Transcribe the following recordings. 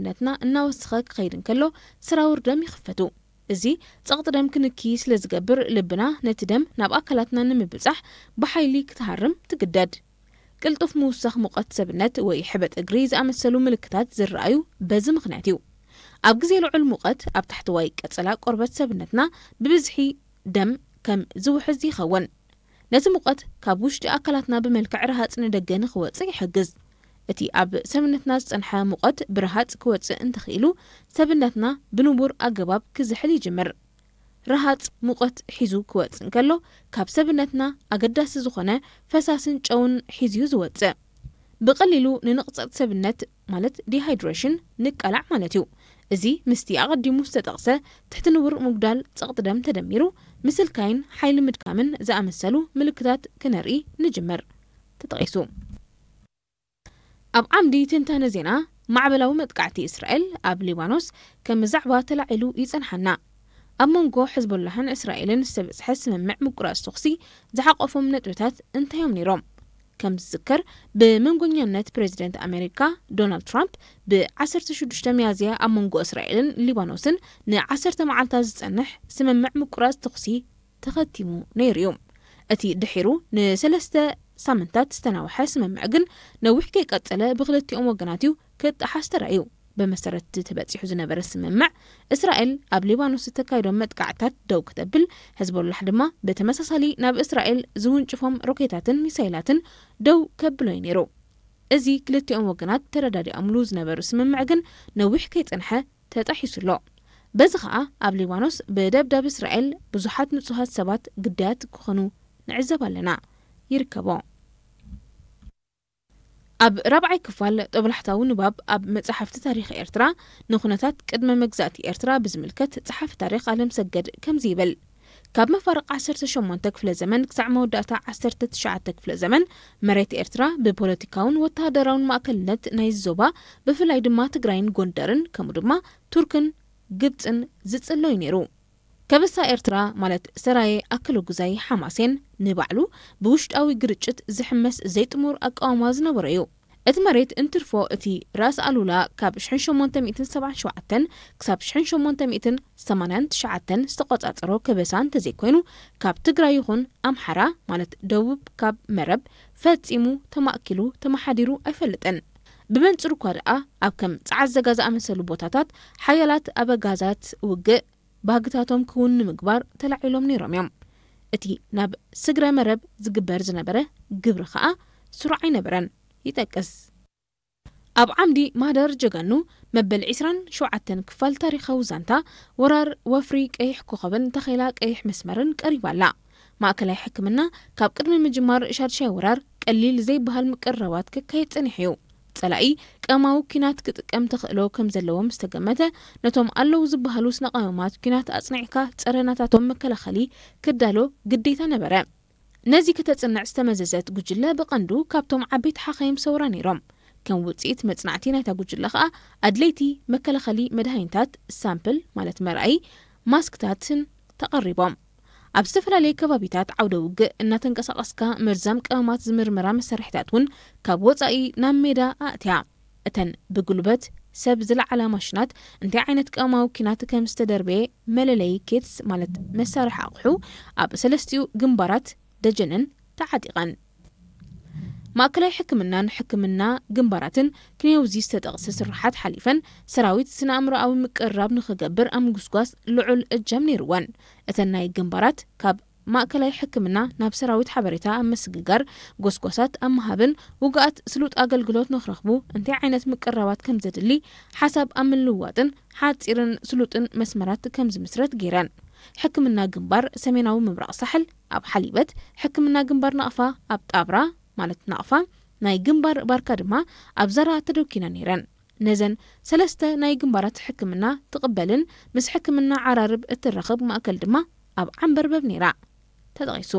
ሰብነትና እናወሰኸ ክኸይድ እንከሎ፣ ስራውር ደም ይኽፈቱ። እዚ ጸቕጢ ደም ክንኪ ስለ ዝገብር፣ ልብና ነቲ ደም ናብ ኣካላትና ንምብጻሕ ብሓይሊ ክትሃርም ትግደድ። ቅልጡፍ ምውሳኽ ሙቐት ሰብነት ወይ ሕበጥ እግሪ ዝኣመሰሉ ምልክታት ዝረኣዩ በዚ ምኽንያት እዩ። ኣብ ግዜ ልዑል ሙቐት፣ ኣብ ታሕተዋይ ቀጸላ ቆርበት ሰብነትና ብብዝሒ ደም ከም ዝውሕዝ ይኸውን። ነቲ ሙቐት ካብ ውሽጢ ኣካላትና ብመልክዕ ረሃጽ ንደገ ንኽወጽእ ይሕግዝ። እቲ ኣብ ሰብነትና ዝጸንሐ ሙቐት ብረሃጽ ክወጽእ እንተኽኢሉ፣ ሰብነትና ብንቡር ኣገባብ ክዝሕል ይጅምር። ረሃጽ ሙቐት ሒዙ ክወጽእ እንከሎ፣ ካብ ሰብነትና ኣገዳሲ ዝኾነ ፈሳስን ጨውን ሒዙ እዩ ዝወጽእ። ብቐሊሉ ንንቕጸት ሰብነት፣ ማለት ዲሃይድሬሽን፣ ንቃላዕ ማለት እዩ። እዚ ምስቲ ኣቐዲሙ ዝተጠቕሰ ትሕቲ ንቡር ምጉዳል ጸቕጢ ደም ተደሚሩ፣ ምስልካይን ሓይሊ ምድካምን ዝኣመሰሉ ምልክታት ክነርኢ ንጅምር። ተጠቒሱ። ኣብ ዓምዲ ትንታነ ዜና፣ ማዕበላዊ መጥቃዕቲ እስራኤል ኣብ ሊባኖስ ከም ዛዕባ ተላዒሉ ይጸንሓና። ኣብ መንጎ ሕዝቦላህን እስራኤልን ዝተበጽሐ ስምምዕ ምቁራጽ ተኹሲ ዝሓቆፎም ነጥብታት እንታይ እዮም ነይሮም? ከም ዝዝከር፣ ብመንጎኛነት ፕሬዚደንት ኣሜሪካ ዶናልድ ትራምፕ ብ ዓሰርተ ሽዱሽተ ሚያዝያ ኣብ መንጎ እስራኤልን ሊባኖስን ንዓሰርተ መዓልታት ዝጸንሕ ስምምዕ ምቁራጽ ተኹሲ ተኸቲሙ ነይሩ እዩ። እቲ ድሒሩ ንሰለስተ ሳምንታት ዝተናውሐ ስምምዕ ግን ነዊሕ ከይቀጸለ ብክልቲኦም ወገናት እዩ ክጠሓስ ተራእዩ። ብመሰረት እቲ ተበጺሑ ዝነበረ ስምምዕ፣ እስራኤል ኣብ ሊባኖስ እተካይዶም መጥቃዕታት ደው ክተብል፣ ሕዝቦላሕ ድማ ብተመሳሳሊ ናብ እስራኤል ዝውንጭፎም ሮኬታትን ሚሳይላትን ደው ከብሎ እዩ ነይሩ። እዚ ክልቲኦም ወገናት ተረዳዲኦምሉ ዝነበሩ ስምምዕ ግን ነዊሕ ከይጸንሐ ተጣሒሱ ኣሎ። በዚ ኸኣ ኣብ ሊባኖስ ብደብዳብ እስራኤል ብዙሓት ንጹሃት ሰባት ግዳያት ክኾኑ ንዕዘብ ኣለና። ይርከቦ። ኣብ ራብዓይ ክፋል ጦብላሕታዊ ንባብ ኣብ መጻሕፍቲ ታሪኽ ኤርትራ ንኹነታት ቅድመ መግዛእቲ ኤርትራ ብዝምልከት ጸሓፊ ታሪኽ ኣለምሰገድ ከምዚ ይብል። ካብ መፋርቕ ዓሰርተ ሸሞንተ ክፍለ ዘመን ክሳዕ መወዳእታ ዓሰርተ ትሽዓተ ክፍለ ዘመን መሬት ኤርትራ ብፖለቲካውን ወተሃደራውን ማእከልነት ናይዚ ዞባ ብፍላይ ድማ ትግራይን ጎንደርን ከምኡ ድማ ቱርክን ግብጽን ዝጽሎ እዩ ነይሩ። ከበሳ ኤርትራ ማለት ሰራየ ኣከለጉዛይ ሓማሴን ንባዕሉ ብውሽጣዊ ግርጭት ዝሕመስ ዘይጥሙር ኣቃውማ ዝነበሮ እዩ። እቲ መሬት እንትርፎ እቲ ራስ ኣሉላ ካብ ሽሕን ሸሞንተ ሚእትን ሰብዓን ሸውዓተን ክሳብ ሽሕን ሸሞንተ ሚእትን ሰማንያን ትሽዓተን ዝተቖጻጸሮ ከበሳ እንተዘይኮይኑ ካብ ትግራይ ይኹን ኣምሓራ ማለት ደቡብ ካብ መረብ ፈጺሙ ተማእኪሉ ተመሓዲሩ ኣይፈልጥን። ብመንጽሩ እኳ ደኣ ኣብ ከም ጸዓት ዘጋ ዝኣመሰሉ ቦታታት ሓያላት ኣበጋዛት ውግእ ባህግታቶም ክውን ንምግባር ተላዒሎም ነይሮም እዮም። እቲ ናብ ስግረ መረብ ዝግበር ዝነበረ ግብሪ ኸኣ ስሩዕ ኣይነበረን። ይጠቅስ። ኣብ ዓምዲ ማህደር ጀጋኑ መበል ዕስራን ሸውዓተን ክፋል ታሪኻዊ ዛንታ ወራር ወፍሪ ቀይሕ ኮኸብን ተኼላ ቀይሕ መስመርን ቀሪባ ኣላ። ማእከላይ ሕክምና ካብ ቅድሚ ምጅማር ሻድሻይ ወራር ቀሊል ዘይበሃል ምቅርራባት ክካየድ ጸኒሑ እዩ። ጸላኢ ቀማዊ ኲናት ክጥቀም ተኽእሎ ከም ዘለዎ ምስ ተገመተ፣ ነቶም ኣለዉ ዝበሃሉ ስነ ቀመማት ኲናት ኣጽኒዕካ ጸረናታቶም መከላኸሊ ክዳሎ ግዴታ ነበረ። ነዚ ከተጽንዕ ዝተመዘዘት ጉጅለ ብቐንዱ ካብቶም ዓበይቲ ሓኻይም ሰውራ ነይሮም። ከም ውጽኢት መጽናዕቲ ናይታ ጉጅለ ኸኣ ኣድለይቲ መከላኸሊ መድሃኒታት፣ ሳምፕል ማለት መርኣዪ፣ ማስክታትን ተቐሪቦም። ኣብ ዝተፈላለየ ከባቢታት ዓውደ ውግእ እናተንቀሳቐስካ መርዛም ቀመማት ዝምርምራ መሳርሒታት እውን ካብ ወጻኢ ናብ ሜዳ ኣእትያ። እተን ብጉልበት ሰብ ዝለዓላ ማሽናት እንታይ ዓይነት ቀመማዊ ኲናት ከም ዝተደርበየ መለለዪ ኬትስ ማለት መሳርሒ ኣቑሑ ኣብ ሰለስቲኡ ግንባራት ደጀንን ተዓጢቐን። ማእከላይ ሕክምናን ሕክምና ግንባራትን ክንዮውዚ ዝተጠቕሰ ስርሓት ሓሊፈን ሰራዊት ስነ ኣእምሮኣዊ ምቅርራብ ንኽገብር ኣብ ምጉስጓስ ልዑል እጃም ነይርወን። እተን ናይ ግንባራት ካብ ማእከላይ ሕክምና ናብ ሰራዊት ሓበሬታ ኣብ ምስግጋር፣ ጎስጓሳት ኣብ ምሃብን ውጉኣት ስሉጥ ኣገልግሎት ንኽረኽቡ እንታይ ዓይነት ምቅርራባት ከም ዘድሊ ሓሳብ ኣብ ምልውዋጥን ሓጺርን ስሉጥን መስመራት ከም ዝምስረት ገይረን። ሕክምና ግንባር ሰሜናዊ ምብራቕ ሳሕል ኣብ ሓሊበት፣ ሕክምና ግንባር ናቕፋ ኣብ ጣብራ ማለት ናቕፋ፣ ናይ ግንባር ባርካ ድማ ኣብ ዘራ ተደኪና ነይረን። ነዘን ሰለስተ ናይ ግንባራት ሕክምና ትቕበልን ምስ ሕክምና ዓራርብ እትራኸብ ማእከል ድማ ኣብ ዓንበርበብ ነይራ። ተጠቒሱ።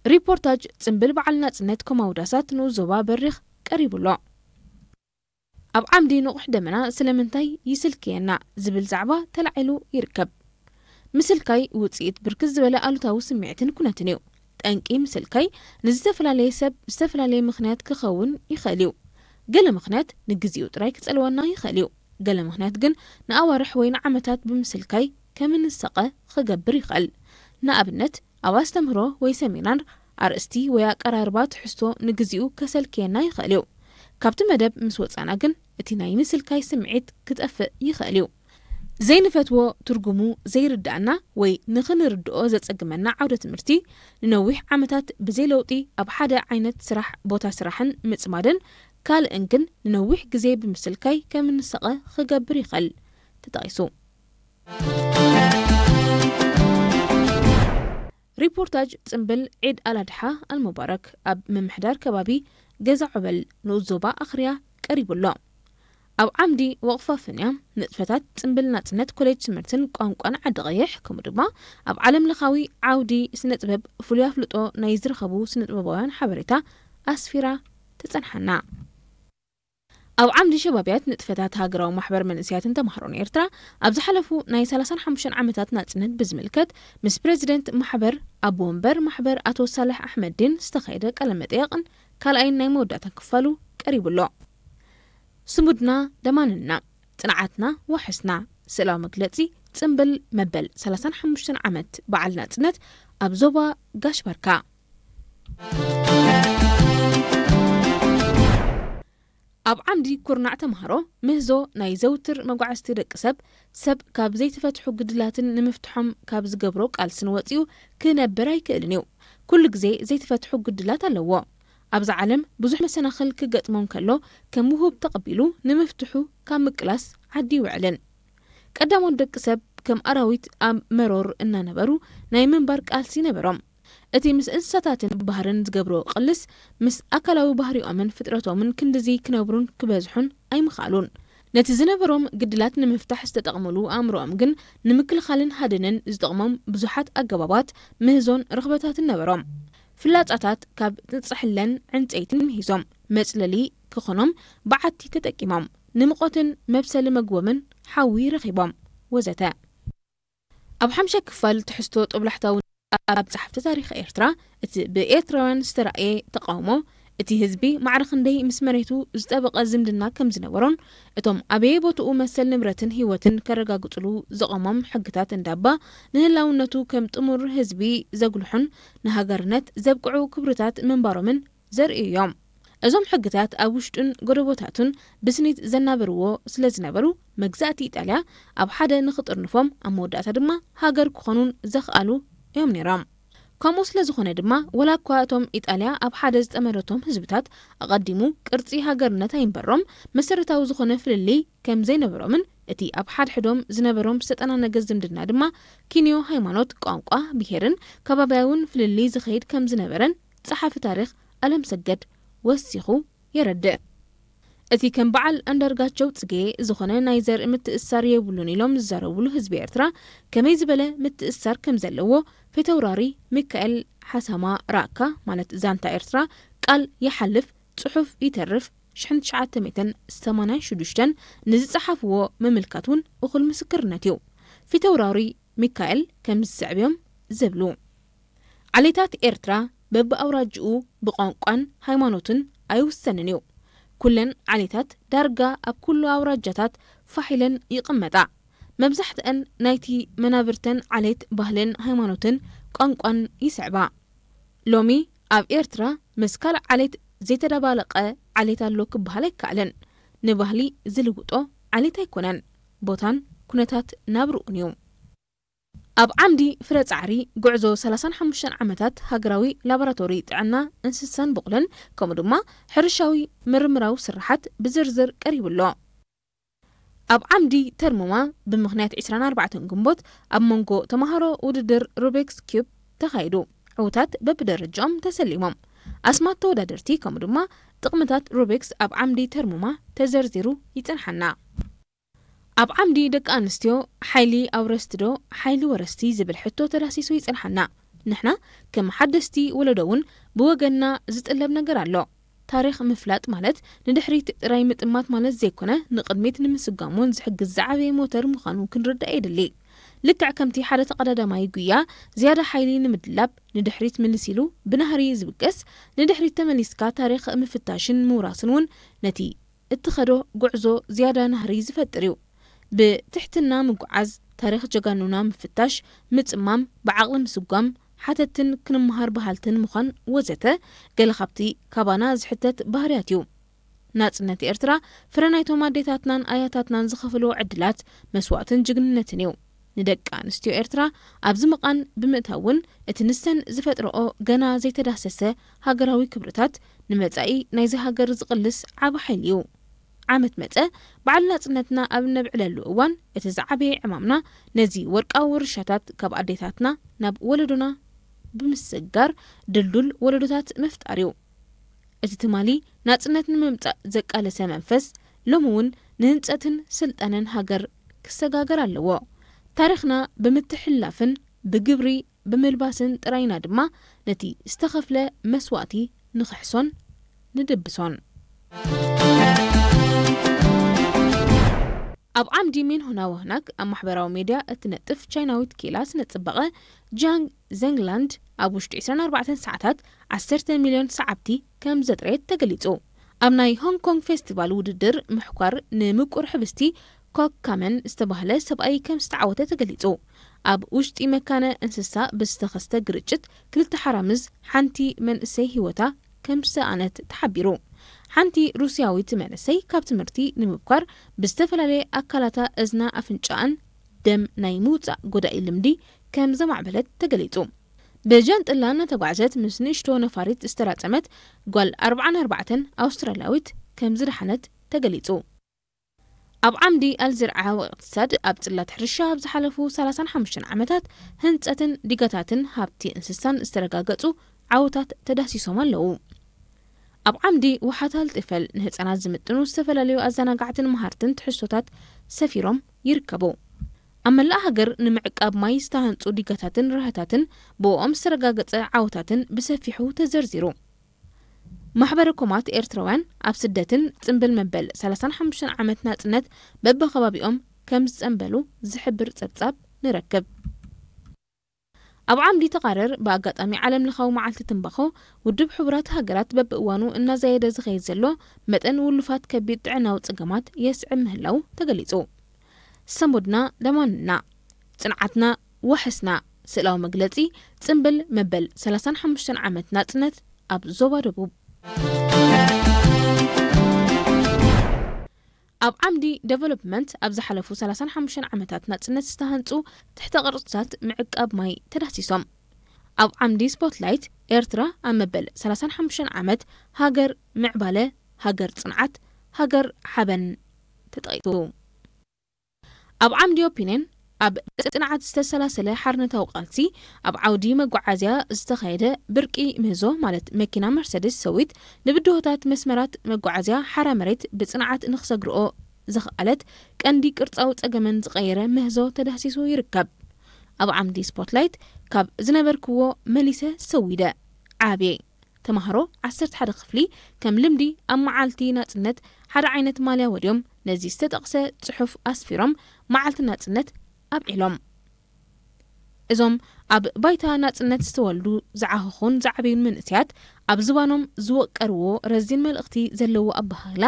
ሪፖርታጅ ጽምብል በዓል ናጽነት ኮማውዳሳት ንኡስ ዞባ በሪኽ ቀሪቡ ኣሎ። ኣብ ዓምዲ ንቑሕ ደመና ስለምንታይ ይስልክየና ዝብል ዛዕባ ተላዒሉ ይርከብ። ምስልካይ ውጽኢት ብርክት ዝበለ ኣሉታዊ ስምዒትን ኩነትን እዩ። ጠንቂ ምስልካይ ንዝተፈላለየ ሰብ ብዝተፈላለየ ምኽንያት ክኸውን ይኽእል እዩ። ገለ ምኽንያት ንግዜኡ ጥራይ ክጸልወና ይኽእል እዩ። ገለ ምኽንያት ግን ንኣዋርሕ ወይ ንዓመታት ብምስልካይ ከም እንሰቐ ክገብር ይኽእል። ንኣብነት፣ ኣብ ኣስተምህሮ ወይ ሰሚናር ኣርእስቲ ወይ ኣቀራርባ ትሕዝቶ ንግዜኡ ከሰልክየና ይኽእል እዩ። ካብቲ መደብ ምስ ወጻና ግን እቲ ናይ ምስልካይ ስምዒት ክጠፍእ ይኽእል እዩ። ዘይንፈትዎ፣ ትርጉሙ ዘይርድኣና ወይ ንኽንርድኦ ዘጸግመና ዓውደ ትምህርቲ፣ ንነዊሕ ዓመታት ብዘይ ለውጢ ኣብ ሓደ ዓይነት ስራሕ፣ ቦታ ስራሕን ምጽማድን ካልእን ግን ንነዊሕ ግዜ ብምስልካይ ከም እንሰቐ ክገብር ይኽእል። ተጠቒሱ። ሪፖርታጅ ጽምብል ዒድ ኣልኣድሓ ኣልሙባረክ ኣብ ምምሕዳር ከባቢ ገዛ ዖበል ንኡስ ዞባ ኣኽርያ ቀሪቡ ኣሎ። ኣብ ዓምዲ ወቕፋፍንያ ንጥፈታት ጽምብል ናጽነት ኮሌጅ ትምህርትን ቋንቋን ዓዲ ቀይሕ፣ ከምኡ ድማ ኣብ ዓለም ለኻዊ ዓውዲ ስነ ጥበብ ፍሉይ ኣፍልጦ ናይ ዝረኸቡ ስነ ጥበባውያን ሓበሬታ ኣስፊራ ትጸንሓና። ኣብ ዓምዲ ሸባብያት ንጥፈታት ሃገራዊ ማሕበር መንእሰያትን ተማሃሮን ኤርትራ ኣብ ዝሓለፉ ናይ ሰላሳን ሓሙሽተን ዓመታት ናጽነት ብዝምልከት ምስ ፕረዚደንት ማሕበር፣ ኣቦ ወንበር ማሕበር ኣቶ ሳልሕ ኣሕመድዲን ዝተኻየደ ቃለ መጠየቕን ካልኣይን ናይ መወዳእታ ክፋሉ ቀሪቡ ኣሎ። ስሙድና ደማንና፣ ጽንዓትና ዋሕስና፣ ስእላዊ መግለጺ ጽምብል መበል ሰላሳን ሓሙሽተን ዓመት በዓል ናጽነት ኣብ ዞባ ጋሽ ባርካ። ኣብ ዓምዲ ኩርናዕ ተምሃሮ ምህዞ ናይ ዘውትር መጓዕዝቲ ደቂ ሰብ፣ ሰብ ካብ ዘይተፈትሑ ግድላትን ንምፍትሖም ካብ ዝገብሮ ቃልስን ወጺኡ ክነብር ኣይክእልን እዩ። ኩሉ ግዜ ዘይተፈትሑ ግድላት ኣለዎ። ኣብዛ ዓለም ብዙሕ መሰናኽል ክገጥሞ እንከሎ፣ ከም ውሁብ ተቐቢሉ ንምፍትሑ ካብ ምቅላስ ዓዲ ይውዕልን። ቀዳሞት ደቂ ሰብ ከም ኣራዊት ኣብ መሮር እናነበሩ ናይ ምንባር ቃልሲ ነበሮም። እቲ ምስ እንስሳታትን ባህርን ዝገብሮ ቅልስ፣ ምስ ኣካላዊ ባህሪኦምን ፍጥረቶምን ክንድዚ ክነብሩን ክበዝሑን ኣይምኽኣሉን። ነቲ ዝነበሮም ግድላት ንምፍታሕ ዝተጠቕምሉ ኣእምሮኦም ግን ንምክልኻልን ሃድንን ዝጠቕሞም ብዙሓት ኣገባባት ምህዞን ርኽበታትን ነበሮም። ፍላጻታት ካብ ጽሕለን ዕንጸይትን ምሂዞም፣ መጽለሊ ክኾኖም በዓቲ ተጠቂሞም፣ ንምቖትን መብሰሊ መግቦምን ሓዊ ረኺቦም፣ ወዘተ። ኣብ ሓምሻይ ክፋል ትሕዝቶ ጦብላሕታዊ ኣብ ጸሓፍቲ ታሪኽ ኤርትራ፣ እቲ ብኤርትራውያን ዝተራእየ ተቃውሞ፣ እቲ ህዝቢ ማዕረ ክንደይ ምስ መሬቱ ዝጠበቐ ዝምድና ከም ዝነበሮን፣ እቶም ኣበየ ቦትኡ መሰል ንብረትን ህይወትን ከረጋግጽሉ ዘቐሞም ሕግታት እንዳባ፣ ንህላውነቱ ከም ጥሙር ህዝቢ ዘጉልሑን ንሃገርነት ዘብቅዑ ክብርታት ምንባሮምን ዘርእዩ እዮም። እዞም ሕግታት ኣብ ውሽጡን ጎደቦታቱን ብስኒት ዘናበርዎ ስለ ዝነበሩ፣ መግዛእቲ ኢጣልያ ኣብ ሓደ ንኽጥርንፎም፣ ኣብ መወዳእታ ድማ ሃገር ክኾኑን ዘኽኣሉ እዮም ነይሮም። ከምኡ ስለ ዝኾነ ድማ፣ ወላ እኳ እቶም ኢጣልያ ኣብ ሓደ ዝጠመረቶም ህዝብታት ኣቐዲሙ ቅርጺ ሃገርነት ኣይንበሮም፣ መሰረታዊ ዝኾነ ፍልልይ ከም ዘይነበሮምን፣ እቲ ኣብ ሓድሕዶም ዝነበሮም ዝተጠናነገ ዝምድና ድማ ኪንዮ ሃይማኖት፣ ቋንቋ፣ ብሄርን ከባብያውን ፍልልይ ዝኸይድ ከም ዝነበረን ጸሓፊ ታሪኽ ኣለምሰገድ ወሲኹ የረድእ። እቲ ከም በዓል ኣንዳርጋቸው ጽጌ ዝኾነ ናይ ዘርኢ ምትእስሳር የብሉን ኢሎም ዝዛረብሉ ህዝቢ ኤርትራ፣ ከመይ ዝበለ ምትእስሳር ከም ዘለዎ ፊተውራሪ ሚካኤል ሓሳማ ራካ፣ ማለት ዛንታ ኤርትራ፣ ቃል ይሓልፍ፣ ጽሑፍ ይተርፍ፣ ሽሕን ትሽዓተ ሚእትን ሰማንያን ሽዱሽተን ንዝጸሓፍዎ ምምልካት እውን እኹል ምስክርነት እዩ። ፊተውራሪ ሚካኤል ከም ዝስዕብ እዮም ዝብሉ። ዓሌታት ኤርትራ በብኣውራጅኡ ብቋንቋን ሃይማኖትን ኣይውሰንን እዩ። ኩለን ዓሌታት ዳርጋ ኣብ ኩሉ ኣውራጃታት ፋሕ ኢለን ይቕመጣ። መብዛሕትአን ናይቲ መናብርተን ዓሌት ባህልን ሃይማኖትን ቋንቋን ይስዕባ። ሎሚ ኣብ ኤርትራ ምስ ካልእ ዓሌት ዘይተደባለቐ ዓሌት ኣሎ ክበሃል ኣይከኣልን። ንባህሊ ዝልውጦ ዓሌት ኣይኮነን፣ ቦታን ኩነታት ናብርኡን እዩ። ኣብ ዓምዲ ፍረ ጻዕሪ ጉዕዞ ሰላሳን ሓሙሽተን ዓመታት ሃገራዊ ላቦራቶሪ ጥዕና እንስሳን ብቑልን፣ ከምኡ ድማ ሕርሻዊ ምርምራዊ ስርሓት ብዝርዝር ቀሪቡ ኣሎ። ኣብ ዓምዲ ተርሙማ፣ ብምኽንያት ዕስራን ኣርባዕተን ግንቦት ኣብ መንጎ ተማሃሮ ውድድር ሩቢክስ ኪዩብ ተኻይዱ። ዕዉታት በብደረጃኦም ተሰሊሞም። ኣስማት ተወዳደርቲ ከምኡ ድማ ጥቕምታት ሩቢክስ ኣብ ዓምዲ ተርሙማ ተዘርዚሩ ይጸንሓና። ኣብ ዓምዲ ደቂ ኣንስትዮ፣ ሓይሊ ኣውረስቲ ዶ ሓይሊ ወረስቲ ዝብል ሕቶ ተዳሲሱ ይጸንሓና። ንሕና ከም ሓደስቲ ወለዶ እውን ብወገንና ዝጥለብ ነገር ኣሎ። ታሪኽ ምፍላጥ ማለት ንድሕሪት ጥራይ ምጥማት ማለት ዘይኮነ፣ ንቕድሚት ንምስጋም እውን ዝሕግዝ ዝዓበየ ሞተር ምዃኑ ክንርዳእ የድሊ። ልክዕ ከምቲ ሓደ ተቐዳዳማይ ጉያ ዝያዳ ሓይሊ ንምድላብ ንድሕሪት ምልስ ኢሉ ብናህሪ ዝብገስ፣ ንድሕሪት ተመሊስካ ታሪኽ ምፍታሽን ምውራስን እውን ነቲ እትኸዶ ጉዕዞ ዝያዳ ናህሪ ዝፈጥር እዩ። ብትሕትና ምጉዓዝ፣ ታሪኽ ጀጋኑና ምፍታሽ፣ ምጽማም፣ ብዓቕሊ ምስጓም፣ ሓተትን ክንመሃር በሃልትን ምዃን ወዘተ ገለ ካብቲ ካባና ዝሕተት ባህርያት እዩ። ናጽነት ኤርትራ ፍረ ናይቶም ኣዴታትናን ኣያታትናን ዝኸፍልዎ ዕድላት፣ መስዋእትን ጅግንነትን እዩ። ንደቂ ኣንስትዮ ኤርትራ ኣብዚ ምቓን ብምእታው እውን እቲ ንሰን ዝፈጥረኦ ገና ዘይተዳሰሰ ሃገራዊ ክብርታት ንመጻኢ ናይዚ ሃገር ዝቕልስ ዓቢ ሓይሊ እዩ። ዓመት መጸ በዓል ናጽነትና ኣብ እነብዕለሉ እዋን እቲ ዝዓበየ ዕማምና ነዚ ወርቃዊ ውርሻታት ካብ ኣዴታትና ናብ ወለዶና ብምስግጋር ድልዱል ወለዶታት ምፍጣር እዩ። እቲ ትማሊ ናጽነት ንምምጻእ ዘቃለሰ መንፈስ ሎሚ እውን ንህንጸትን ስልጣነን ሃገር ክሰጋገር ኣለዎ። ታሪኽና ብምትሕልላፍን ብግብሪ ብምልባስን ጥራይና ድማ ነቲ ዝተኸፍለ መስዋእቲ ንኽሕሶን ንድብሶን። ኣብ ዓምዲ ሚንሆና ወህናክ ኣብ ማሕበራዊ ሜድያ እትነጥፍ ቻይናዊት ክኢላ ስነ ጽባቐ ጃንግ ዘንግላንድ ኣብ ውሽጢ ዕስራን ኣርባዕተን ሰዓታት ዓሰርተ ሚልዮን ሰዓብቲ ከም ዘጥረየት ተገሊጹ። ኣብ ናይ ሆንግ ኮንግ ፌስቲቫል ውድድር ምሕኳር ንምቁር ሕብስቲ ኮክ ካመን ዝተባህለ ሰብኣይ ከም ዝተዓወተ ተገሊጹ። ኣብ ውሽጢ መካነ እንስሳ ብዝተኸስተ ግርጭት ክልተ ሓራምዝ ሓንቲ መንእሰይ ህይወታ ከም ዝሰኣነት ተሓቢሩ። ሓንቲ ሩስያዊት መንእሰይ ካብ ትምህርቲ ንምብኳር ብዝተፈላለየ ኣካላታ እዝና ኣፍንጫኣን ደም ናይ ምውጻእ ጎዳኢ ልምዲ ከም ዘማዕበለት ተገሊጹ። ብጃንጥላ እናተጓዕዘት ምስ ንእሽቶ ነፋሪት ዝተራጸመት ጓል ኣርባዓን ኣርባዕተን ኣውስትራልያዊት ከም ዝደሓነት ተገሊጹ። ኣብ ዓምዲ ኣልዝርዓ ወእቅትሳድ ኣብ ጽላት ሕርሻ ኣብ ዝሓለፉ ሰላሳን ሓሙሽተን ዓመታት ህንጸትን ዲጋታትን ሃብቲ እንስሳን ዝተረጋገጹ ዓወታት ተዳሲሶም ኣለዉ። ኣብ ዓምዲ ውሓት ኣልጥፈል ንህጻናት ዝምጥኑ ዝተፈላለዩ ኣዘናጋዕትን መሃርትን ትሕዝቶታት ሰፊሮም ይርከቡ። ኣብ መላእ ሃገር ንምዕቃብ ማይ ዝተሃንጹ ዲጋታትን ራህታትን ብእኦም ዝተረጋገጸ ዓወታትን ብሰፊሑ ተዘርዚሩ። ማሕበረ ኮማት ኤርትራውያን ኣብ ስደትን ጽንብል መበል ሰላሳን ሓሙሽተን ዓመት ናጽነት በብኸባቢኦም ከም ዝጸንበሉ ዝሕብር ጸብጻብ ንረክብ። ኣብ ዓምዲ ተቓረር ብኣጋጣሚ ዓለም ለኻዊ መዓልቲ ትንባኾ ውድብ ሕቡራት ሃገራት በብእዋኑ እናዛየደ ዝኸይድ ዘሎ መጠን ውሉፋት ከቢድ ጥዕናዊ ጸገማት የስዕብ ምህላው ተገሊጹ። ሰሙድና ደማንና፣ ጽንዓትና ዋሕስና፣ ስእላዊ መግለጺ ጽንብል መበል ሰላሳን ሓሙሽተን ዓመት ናጽነት ኣብ ዞባ ደቡብ። ኣብ ዓምዲ ዴቨሎፕመንት ኣብ ዝሓለፉ ሰላሳን ሓሙሽተን ዓመታት ናጽነት ዝተሃንጹ ትሕተ ቅርጽታት ምዕቃብ ማይ ተዳሲሶም። ኣብ ዓምዲ ስፖትላይት ኤርትራ ኣብ መበል ሰላሳን ሓሙሽተን ዓመት ሃገር ምዕባለ፣ ሃገር ጽንዓት፣ ሃገር ሓበን ተጠቒሱ። ኣብ ዓምዲ ኦፒንየን ኣብ ጽንዓት ዝተሰላሰለ ሓርነታዊ ቃልሲ ኣብ ዓውዲ መጓዓዝያ ዝተኻየደ ብርቂ ምህዞ ማለት መኪና መርሰድስ ሰዊት ንብድሆታት መስመራት መጓዓዝያ ሓራ መሬት ብጽንዓት ንክሰግርኦ ዘኽኣለት ቀንዲ ቅርጻዊ ጸገመን ዝቐየረ ምህዞ ተዳህሲሱ ይርከብ። ኣብ ዓምዲ ስፖትላይት ካብ ዝነበርክዎ መሊሰ ሰዊደ ዓብየ ተማሃሮ ዓሰርተ ሓደ ክፍሊ ከም ልምዲ ኣብ መዓልቲ ናጽነት ሓደ ዓይነት ማልያ ወድዮም ነዚ ዝተጠቕሰ ጽሑፍ ኣስፊሮም መዓልቲ ናጽነት ኣብዒሎም። እዞም ኣብ ባይታ ናጽነት ዝተወልዱ ዝዓኸኹን ዝዓበዩን መንእሰያት ኣብ ዝባኖም ዝወቀርዎ ረዚን መልእኽቲ ዘለዎ ኣበሃህላ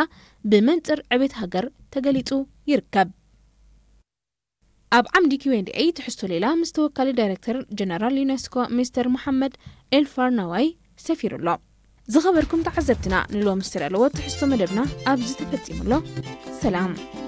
ብመንጽር ዕቤት ሃገር ተገሊጹ ይርከብ። ኣብ ዓምዲ ኪውኤንድኤ ትሕዝቶ ሌላ ምስ ተወካሊ ዳይሬክተር ጀነራል ዩኔስኮ ሚስተር መሓመድ ኤልፋርናዋይ ሰፊሩ ኣሎ። ዝኸበርኩም ተዓዘብትና ንሎሚ ዝተዳለወ ትሕዝቶ መደብና ኣብዚ ተፈጺሙ ኣሎ። ሰላም።